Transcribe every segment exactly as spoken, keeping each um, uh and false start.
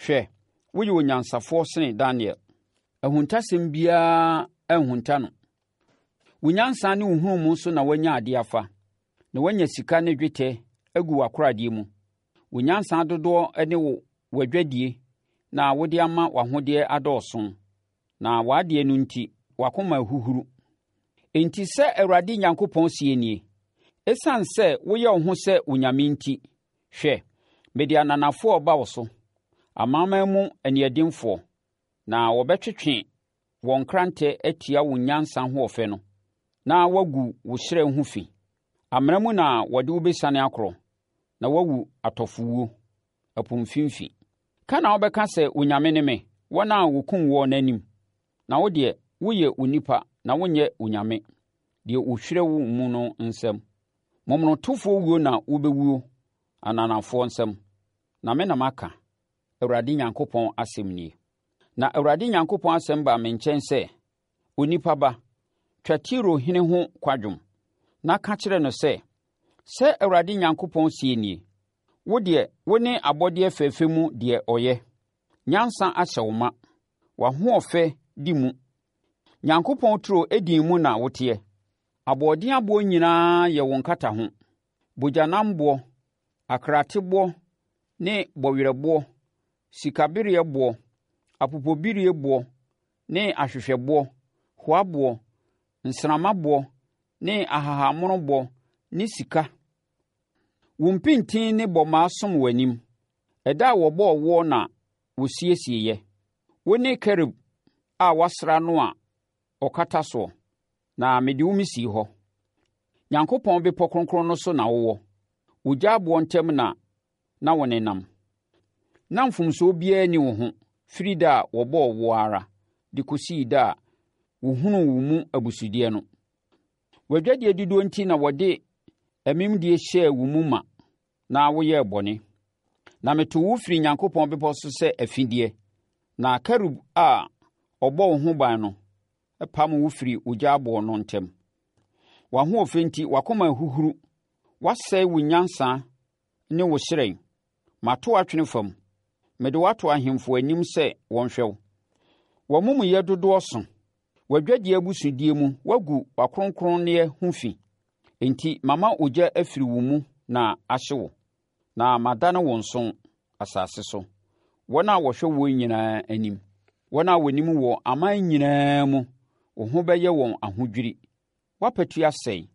Hwɛ, woyɛ onyansafoɔ sene Daniel. Ahuntasɛm biara anhunta no. Wo nyansa ne wo nhunumu so na woanya adeɛ afa, na woanya sika ne dwetɛ agu w'akoradeɛ mu. Wo nyansa dodoɔ ne wo w'adwadie na wode ama w'ahodeɛ adɔɔso, na w'adeɛ no nti, w'akoma ahuhuru. Enti sɛ Awurade Nyankopɔn seɛ nie, ɛsiane sɛ woyɛ wo ho sɛ onyame nti, hwɛ, mede ananafoɔ reba wo so, amanaman mu aniɛdenfoɔ, na wɔbɛtwetwe wɔn nkrantɛ atia wo nyansa ahoɔfɛ no, na wɔagu wo hyerɛn ho fi. Amena mu na wɔde wo bɛsiane akorɔ, na woawu atɔfowuo, ɛpo mfimfini. Ka na wobɛka sɛ, Onyame ne me, wɔn a wɔkum woɔ no anim. Na wo deɛ, woyɛ onipa na wonyɛ onyame, deɛ ɔhwire wo mu no nsam. Momonotofoɔ wuo na wobɛwuo ananafoɔ nsam, na me na maka, Awurade Nyankopɔn asɛm nie. Na Awurade Nyankopɔn asɛm baa me nkyɛn sɛ, Onipa ba, twa Tiro hene ho kwadwom, na ka kyerɛ no sɛ, Sɛ Awurade Nyankopɔn seɛ nie, Wo deɛ, wo ne abɔdeɛ fɛfɛ mu deɛ ɔyɛ. Nyansa ahyɛ wo ma, w'ahoɔfɛ di mu. Nyankopɔn turo Eden mu na woteɛ. Aboɔden aboɔ nyinaa yɛ wo nkataho, bogyanamboɔ, akraateboɔ ne bɔwerɛboɔ, sikabereɛboɔ, apopobibirieboɔ ne ahwehwɛboɔ, hoaboɔ, nsrammaboɔ ne ahahammonoboɔ ne sika. Wo mpintin ne bɔmmaa som w'anim. Ɛda a wɔbɔɔ woɔ na wɔsiesieeɛ. Wo ne kerub a wɔasra no a ɔkata soɔ, na mede wo mesii hɔ. Nyankopɔn bepɔ kronkron no so na wowɔ. Ogya aboɔ ntam na na wonenam. Na mfomsoɔ biara nni wo ho firi da a wɔbɔɔ woɔ ara de kɔsii da a wɔhunuu wo mu abusudeɛ no. W'adwadie dodoɔ nti na wɔde amimdie hyɛɛ wo mu ma na woyɛɛ bɔne. Na metoo wo firii Nyankopɔn bepɔ so sɛ afideɛ, na kerub a ɔbɔ wo ho ban no pam wo firii ogya aboɔ no ntam. W'ahoɔfɛ nti w'akoma ahuhuru, woasɛe wo nyansa ne wo hyerɛn. Mato wo atwene fam, mede wo ato ahemfo anim sɛ wɔnhwɛ wo. W'amumuyɛ dodoɔ so, w'adwadie abusudeɛ mu woagu w'akronkronneɛ ho fi. Enti mama ogya afiri wo mu na ahye wo, na madane wo nso asase so, wɔn a wɔhwɛ woɔ nyinaa anim. Wɔn a wɔnim wɔ aman nyinaa mu, wo ho bɛyɛ wɔn ahodwiri. Woapatu asɛe,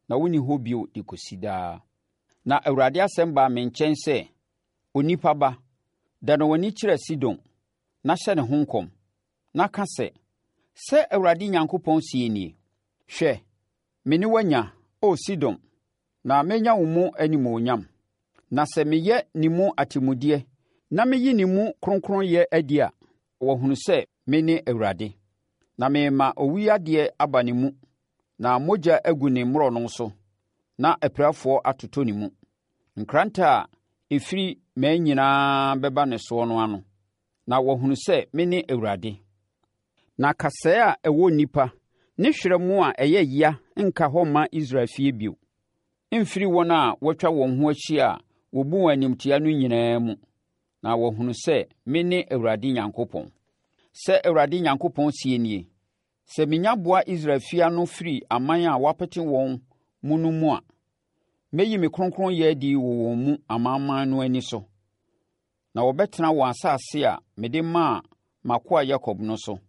na wonni hɔ bio de kɔsi daa. Na Awurade asɛm baa me nkyɛn sɛ, Onipa ba, dane w'ani kyerɛ Sidon, na hyɛ ne ho nkɔm, na ka sɛ, Sɛ Awurade Nyankopɔn seɛ nie, Hwɛ, me ne wo anya, O Sidon, na mɛnya wo mu animuonyam. Na sɛ meyɛ ne mu atemmudeɛ na meyi ne mu kronkronyɛ adi a, wɔahunu sɛ mene Awurade. Na merema owuyadeɛ aba ne mu, na mogya agu ne mmorɔno so, na apirafoɔ atotɔ ne mu. Nkrantɛ a ɛfiri mmaa nyinaa bɛba ne soɔ no ano, na wɔahunu sɛ mene Awurade. Na kasɛɛ a ɛwɔ nnipa ne hwerɛmo a ɛyɛ ya nka hɔ mma Israel fie bio, mfiri wɔn a wɔatwa wɔn ho ahyia a wɔbu wɔn animtia no nyinaa mu, na wɔahunu sɛ mene Awurade Nyankopɔn. Sɛ Awurade Nyankopɔn seɛ nie, sɛ menya boa Israel fie ano firi aman a wɔapete wɔn mu no mu a, mɛyi me kronkronyɛ adi wɔ wɔn mu amanaman no ani so, na wɔbɛtena wɔn asase a mede maa m'akoa Yakob no so.